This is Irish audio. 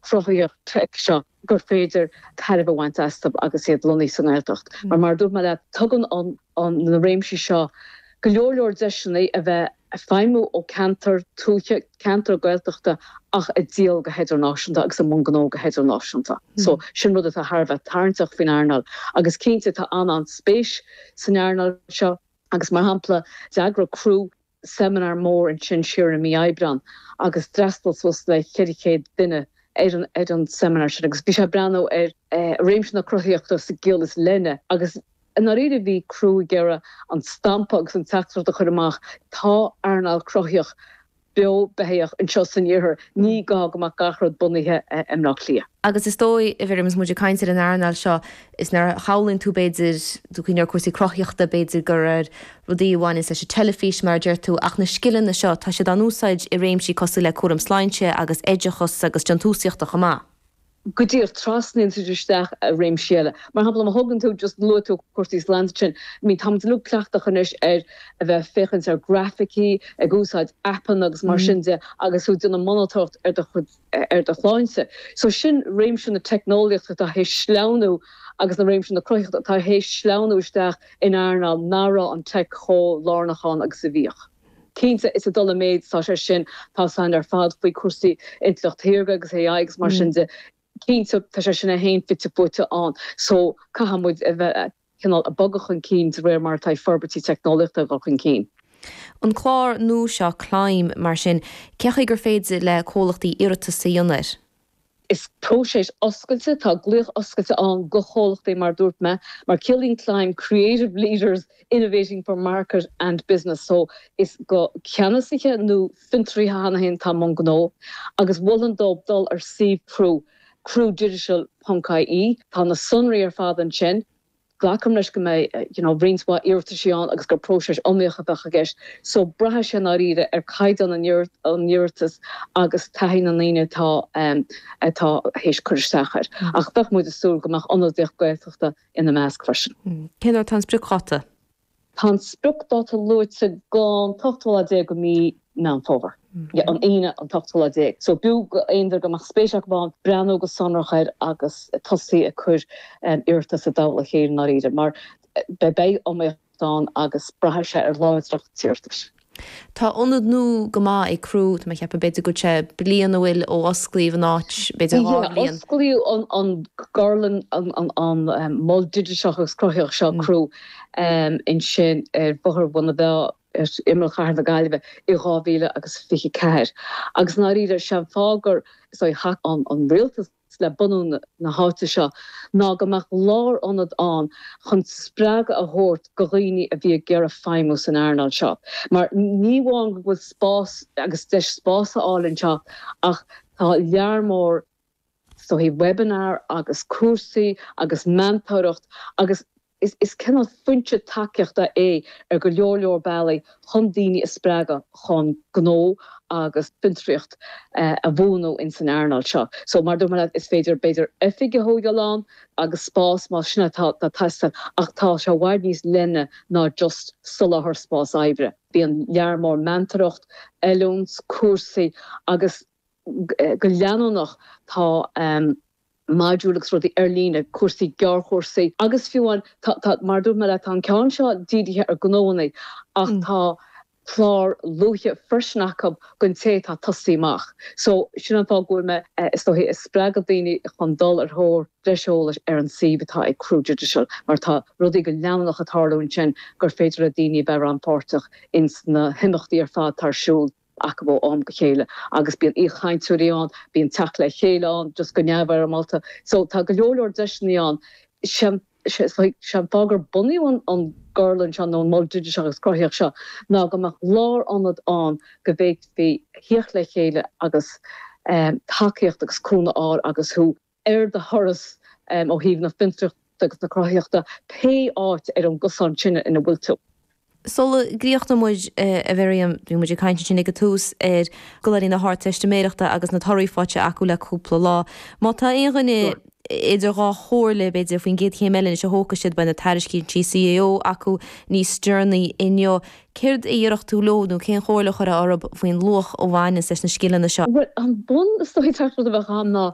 cruthaitheach teic seo gur féidir tairbhe a bhaint astu agus iad lonnaithe sa nGaeltacht. Mar mar a dúirt mé leat, tugann an na réimsí seo go leor leor deiseanna a bheith ag feidhmiú ó ceantar tuaithe, ceantar Gaeltachta ach ag díol go hidirnáisiúnta agus i mbun gnó go hidirnáisiúnta. So sin rud atá thar a bheith tarraingteach faoin earnáil. Agus cinnte tá an-an-spéis san earnáil seo agus mar shampla d'eagraigh Crú seimineár mór ansin siar i mí Aibreán agus d'fhreastail suas le 400 duine ar an ar an seimineár sin agus bhí sé ag breathnú ar réimse na cruthaitheachta sa gciall is leithne agus i ndáiríre bhí Crú ag iarraidh an stampa agus an teachtaireacht a chur amach, tá earnáil cruthaitheach beo beathach anseo san iarthar, ní gá go mbeadh gach rud bunaithe i mBleá Cliath. Agus is dóigh, a Mhiriam, is muid ag caint ar an earnáil seo, is nuair a shamhlaíonn tú, b'fhéidir, tú cuimhneamh ar cúrsaí cruthaitheachta, b'fhéidir gur ar rudaí a bhaineanns leis an teilifís, mar a deir tú, ach na scileanna seo, tá siad á n-úsáid i réimsí cosúil le cúram sláinte agus oideachas agus déantúsaíochta chomh maith. Go díreach, trasnaíonn siad isteach i réimsí eile. Mar shampla, má thógann tú, just luaigh tú cúrsaí sláinte ansin, I mean, táimid uilig cleachtach anois ar a bheith ag féachaint ar grafaicí, ag úsáid aipeanna agus mar sin de agus tú ag déanamh monatóireacht ar do chuid, ar do shláinte. So sin réimse na teicneolaíochta atá théis sleamhnú agus na réimse na cruthaitheachta atá théis sleamhnú isteach in earnáil nach raibh an teic chomh lárnach ann agus a bhíodh. Cinnte, is ag dul i méid atá sé sin, tá a fhios againn ar fad faoi chúrsaí intleacht shaorga agus AI agus mar sin de. Cinnte, tá sé sin é féin fite fuaite ann so caithfidh muid a bheith cineál ag bogadh chun cinn de réir mar atá forbairtí teicneolaíochta ag dul chun cinn. An clár nua seo, Climb, mar sin, cén chaoi gur féidir le comhlachtaí iarratas a dhéanamh air? Is próiseas oscailte, tá glaoch oscailte ann go chomhlachtaí mar a dúirt mé, mar ciallaíonn Climb Creative Leaders Innovating for Market and Business so is go ceannasaithe nó fiontraithe cheana féin atá i mbun gnó agus mholfainn dóibh dul ar suíomh Crú, crúdigital ponc ie, tá na sonraí ar fad ansin. Glacaim leis go mbeidh you know roinnt mhaith iarrataisí ann agus gur próiseas iomaíoch a bheadh i gceist so braithfidh sé i ndáiríre ar caighdeán an iarratais agus taithí na ndaoine atá atá théis cur isteach air. Ach bheadh muid ag súil go mbeadh ionadaíocht Gaeltachta ina measc freisin. Cén uair atá an spriocdháta? Tá an spriocdháta luaite don t-ochtú lá déag de mhí Meán Fómhair. Yeah, an Aoine an t-ochtú lá déag. So b'fhiú go aon duine go mbeadh spéis acu ann breathnú go sonrach air agus tosaí ag cur iarratas i dtoll a chéile i ndáiríre mar beidh iomaíocht ann agus braithfidh sé ar láidreacht an iarratais. Tá ionad nua go maith ag Crú, tá mé ag ceapadh b'fhéidir go bhfuil sé bliain a bhfuil ó osclaíodh an áit, b'fhéidir dhá bhliain. Osclaíodh an gorlann, an mol digiteach agus cruthaitheach seo, Crú, ansin ar Bhóthar Bhun na Bhfeá ar imeall chathair na Gaillimhe i 2024. Agus i ndáiríre, sé an fáth gur, is dóigh, thacaigh an rialtas, le bunú na háite seo ná go mbeadh lárionad ann chun spreagadh a thabhairt go dhaoine a bhí ag iarraidh feidhmiú san earnáil seo. Mar ní amháin go bhfuil spás agus deis spás a fháil anseo ach tá lear mór is dóigh webinar agus cúrsaí agus meantóireacht agus Is cineál foinse tacaíochta é ar go leor leor bealaí chun daoine a spreagadh chun gnó agus fiontraíocht a bhunú ins an earnáil seo. So mar a dúirt mé leat, is féidir b'fhéidir oifig a thógáil ann agus spás más sin atá ag teastáil ach tá sé i bhfad níos leithne ná just soláthar spás oibre. Bíonn lear mór meantóireacht, oiliúint, cúrsaí agus go leanúnach tá. modúil agus rudaí ar líne, cúrsaí, gearrchúrsaí agus fiú amháin tá, tá, mar a dúirt mé leat, tá an ceann seo dírithe ar gnóanna ach tá clár luaithe freisin acu don té atá ag tosaí amach. So, sin an fáth go bhfuil mé, is dóichí, ag spreagadh daoine chun dul ar thóir breis eolais ar an suíomh atá ag Crú Digital mar tá rudaí go leanúnach ag tarlú ansin gur féidir le daoine a bheith rannpháirteach ins na himeachtaí ar fad atá ar siúl. acu ó am go chéile agus bíonn aoichainteoirí ann, bíonn teacht le chéile ann just go neamhfhoirmeálta. So tá go leor leor deiseanna ann. Sé an fáth gur bunaíodh an gorlann seo nó an Mol Digiteach agus Cruthaitheach seo ná go mbeadh lárionad ann go bhféadfaí theacht le chéile agus tacaíocht agus cúnamh a fháil agus thú ar do thuras ó thaobh na fiontraíochta agus na cruthaitheachta, pé áit ar an gcosán sin ina bhfuil tú. Sula gcríochnóidh muid, a Mhiriam, bhí muid ag caint ansin ag an tús ar scoláirí na hArdteistiméireachta agus na torthaí faighte acu le cúpla lá. Má tá aon dhuine idir dhá chomhairle, b'fhéidir, faoin gcéad chéim eile anois a thógfaidh siad, beidh na tairiscintí CAO acu níos deireanaí inniu. Céard a déarfadh tú leo nó cén chomhairle a chuirfeá orthu faoin luach a bhaineanns leis na scileanna seo? Bhuel, an bun is dóigh teachtaireacht a bheadh ann ná.